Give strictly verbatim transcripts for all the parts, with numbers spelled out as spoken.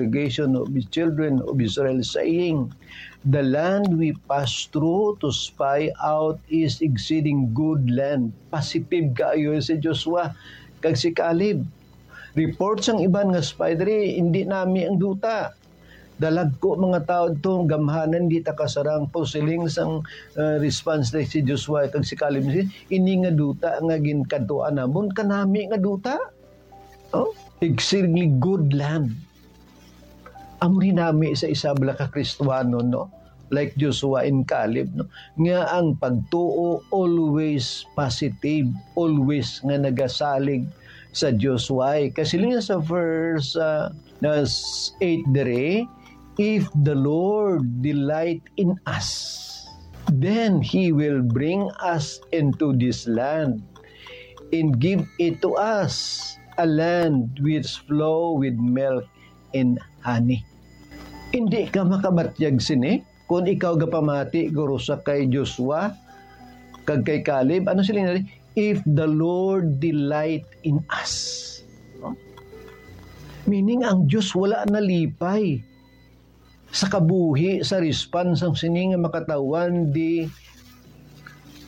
congregation of the children of Israel, saying, "The land we pass through to spy out is exceeding good land." Positive kaayo si Joshua kag si Caleb. Report sang iban nga spy diri, "Hindi nami ang duta. Dalagko mga tawo dito, gamhanan, di ta kasarang." Posiling sang, uh, response ni si Joshua kag si Caleb, "Ini nga duta nga ginkadtuan namon, kanami nga duta." Oh, exceedingly good land. Amo ni nami sa isabla ka Kristiyanon, no? Like Joshua and Caleb, no? Nga ang pagtuo always positive, always nga nagasalig sa Dios. Why? Kasi lang sa verse, ah, na s-, eight dere, "If the Lord delight in us, then He will bring us into this land and give it to us, a land which flow with milk and honey." Hindi ka makabatyag sini kung ikaw gapamati guro sa kay Joshua kag kay Caleb. Ano sila nga, "If the Lord delight in us." No? Meaning, ang Dios wala nalipay sa kabuhi, sa response sang sini nga makatawhan di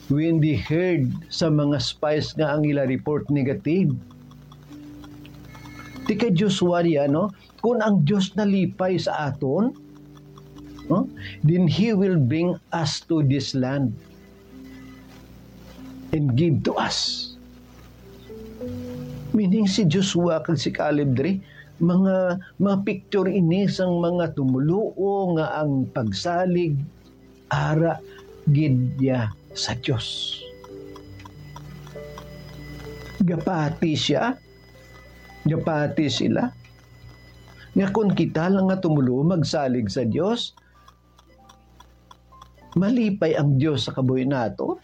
when they heard sa mga spies nga ang ila report negative. Ti kay Joshua niya, no? Kung ang Dios nalipay sa aton, no? Then He will bring us to this land and give to us. Meaning si Joshua kag si Caleb diri, mga, mga picture ini sang mga tumoluo nga ang pagsalig ara gid ya sa Dios. Gapati siya, gapati sila, nga kon kita lang nga tumoluo magsalig sa Dios, malipay ang Dios sa kabuhi nato.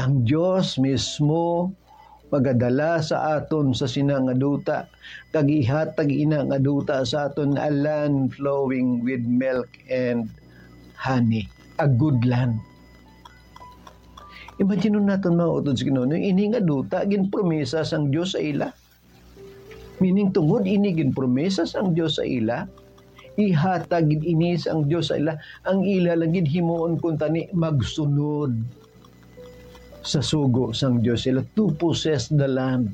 Ang Dios mismo magadala sa aton sa sina nga duta, kag ihatag ina nga duta sa aton a land flowing with milk and honey, a good land. Imagine naton, mga utod sa Ginoo, no? Ini nga duta ginpromesa sang Dios sa ila. Meaning, tungod ini ginpromesa sang Dios sa ila, ihatag gid ini sang Dios sa ila, ang ila lang gid himuon kuntani magsunod sa sugo sang Dios sila to possess the land.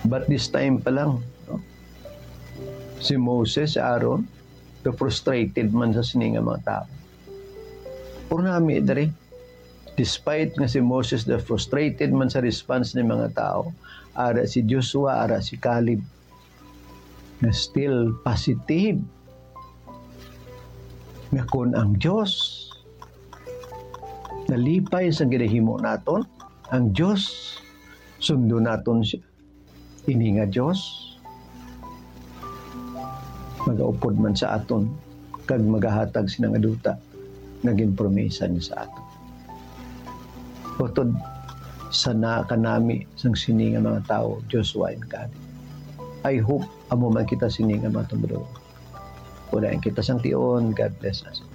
But this time pa lang, no? Si Moses, si Aaron, frustrated man sa sini nga mga tawo. Pero nami diri, despite nga si Moses na frustrated man sa response ni mga tawo, ara si Joshua, ara si Caleb, nga still positive nga kon ang Dios nalipay sa ginahimo naton, ang Dios sundo naton siya. Ini nga Dios magaupod man sa aton kag magahatag sina nga duta nga ginpromisa niya sa aton. Utod sa naa kanami sang sini nga mga tawo, Joshua and Caleb. I hope amo man kita sini nga mga tumuluo. Wala kita sang tion. God bless us.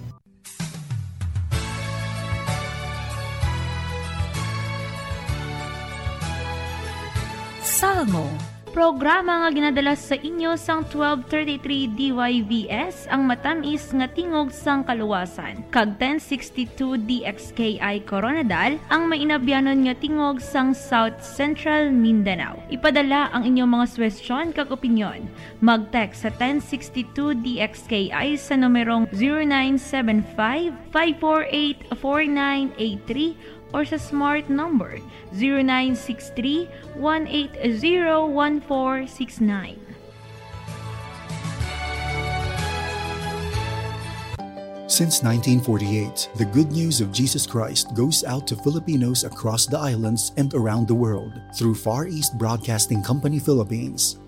Salmo, programa nga ginadala sa inyo sang twelve thirty-three D Y V S, ang matamis nga tingog sang kaluwasan, kag ten sixty-two D X K I Koronadal, ang mainabyanon nga tingog sang South Central Mindanao. Ipadala ang inyong mga suwestyon kag opinyon. Mag-text sa ten sixty-two D X K I sa numerong zero nine seven five, five four eight, four nine eight three or sa smart number zero nine six three, one eight zero, one four six nine. Since nineteen forty-eight, the good news of Jesus Christ goes out to Filipinos across the islands and around the world through Far East Broadcasting Company Philippines.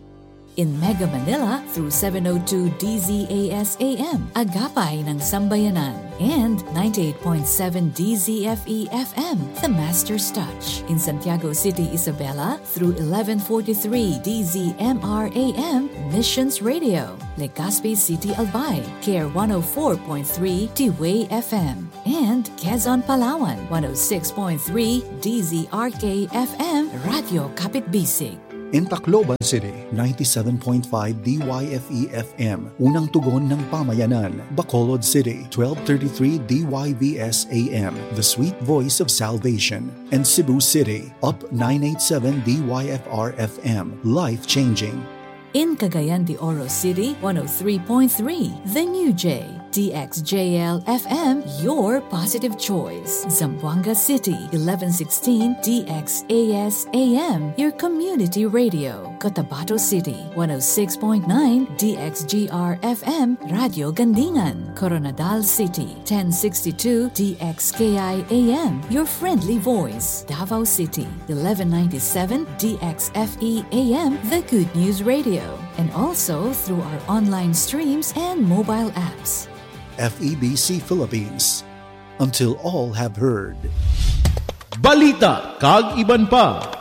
In Mega Manila through seven oh two D Z A S A M, Agapay ng Sambayanan, and ninety-eight point seven D Z F E F M, The Master's Touch. In Santiago City, Isabela through eleven forty-three D Z M R A M, Missions Radio, Legazpi City, Albay, Care one oh four point three T W A F M, and Quezon, Palawan, one oh six point three D Z R K F M, Radio Kapitbisig. In Tacloban City, ninety-seven point five D Y F E F M, Unang Tugon ng Pamayanan. Bacolod City, twelve thirty-three D Y V S A M, The Sweet Voice of Salvation. And Cebu City, Up nine eight seven D Y F R F M, Life Changing. In Cagayan de Oro City, one oh three point three, The New J, D X J L F M, your positive choice. Zamboanga City, eleven sixteen D X A S A M, your community radio. Cotabato City, one oh six point nine D X G R F M, Radio Gandingan. Koronadal City, ten sixty-two D X K I A M, your friendly voice. Davao City, eleven ninety-seven D X F E A M, The Good News Radio. And also through our online streams and mobile apps. F E B C Philippines. Until all have heard. Balita kag iban pa.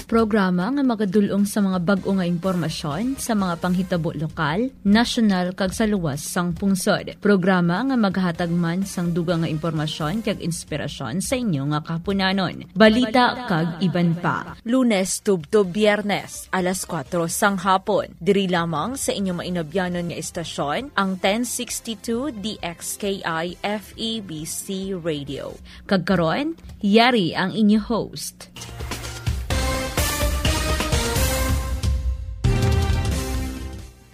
Programa nga magadul-ong sa mga bag-o nga impormasyon sa mga panghitabo lokal, nasyonal, kag sa luwas sang pungsod. Programa nga maghatag man sang dugang nga impormasyon kag inspirasyon sa inyo nga kahaponanon. Balita kag iban pa. Lunes tubtob Biyernes, alas kuwatro sang hapon. Diri lamang sa inyo mainabyanon nga istasyon, ang ten sixty-two D X K I F E B C Radio. Kag karon, yari ang inyo host.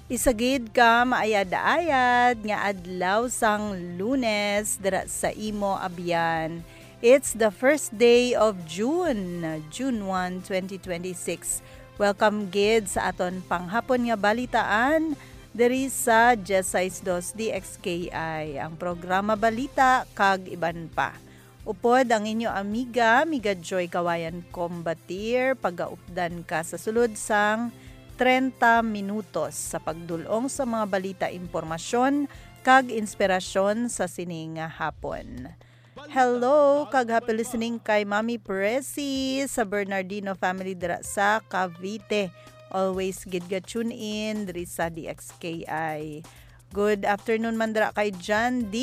Isa gid ka maayad-ayad nga adlaw sang Lunes dira sa imo abyan. It's the first day of June, June one, twenty twenty-six. Welcome gid sa aton panghapon nga balitaan diri sa Diez Seis Dos D X K I, ang programa Balita kag iban pa. Upod ang inyo amiga, Amiga Joy Kawayan Combatir, pagaupdan ka sa sulod sang trenta minutos sa pagdul-ong sa mga balita, impormasyon, kag inspirasyon sa sini nga hapon. Hello, kag happy listening kay Mami Presi sa Bernardino family dira sa Cavite. Always gid ga tune in diri sa D X K I. Good afternoon man dira kay John D,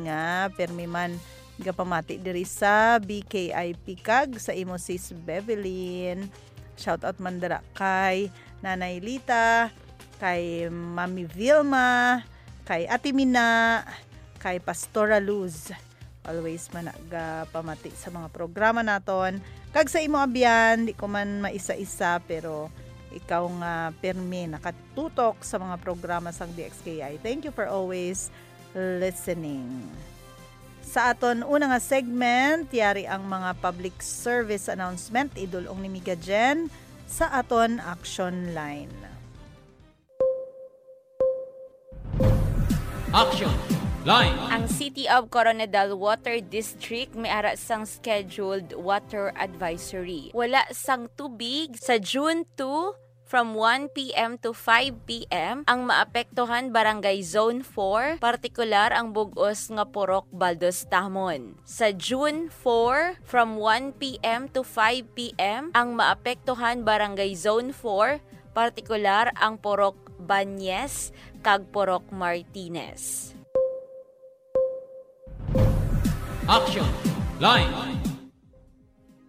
nga permi man gapamati diri sa B K I P kag sa imo sis Bevelyn. Shout out man dira kay Nanay Lita, kay Mami Vilma, kay Ate Mina, kay Pastora Luz. Always man nagapamati sa mga programa naton. Kag sa imo abyan, di ko man maisa-isa, pero ikaw nga permi nakatutok sa mga programa sang D X K I. Thank you for always listening. Sa aton una nga segment, yari ang mga public service announcement, idul-ong ni Miga Jen sa aton action line. Action Line. Ang City of Coronadal Water District may ara sang scheduled water advisory. Wala sang tubig sa June two from one p m to five p m ang maapektuhan barangay Zone four, partikular ang bug-os nga Purok Baldostamon. Sa June four, from one p m to five p m ang maapektuhan barangay Zone four, partikular ang Purok Banyes kag Purok Martinez. Action Line.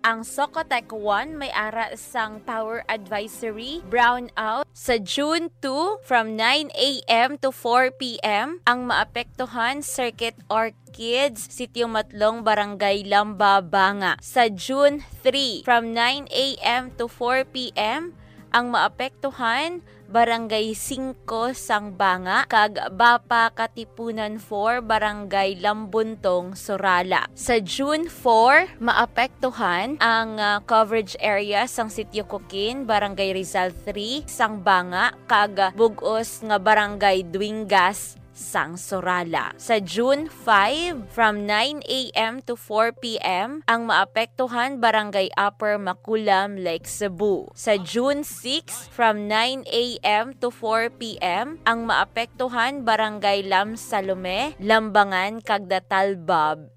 Ang Socotec one may ara sang power advisory brownout sa June two from nine a m to four p m. Ang maapektuhan, Circuit Orchids, Sitio Matlong, Barangay Lamba, Banga. Sa June three from nine a m to four p m. Ang maapektuhan, Barangay Singko sang Banga, kag Bapa Katipunan four, Barangay Lambuntong, Surala. Sa June four, maapektuhan ang, ah, coverage area sang Sitio Kukin, Barangay Rizal three sang Banga, kag bug-os nga Barangay Duingas, sang Surala. Sa June five, from nine a m to four p m, ang maapektuhan Barangay Upper Maculam, Lake Cebu. Sa June six, from nine a m to four p m, ang maapektuhan Barangay Lam Salome, Lambangan, kag Datalbab,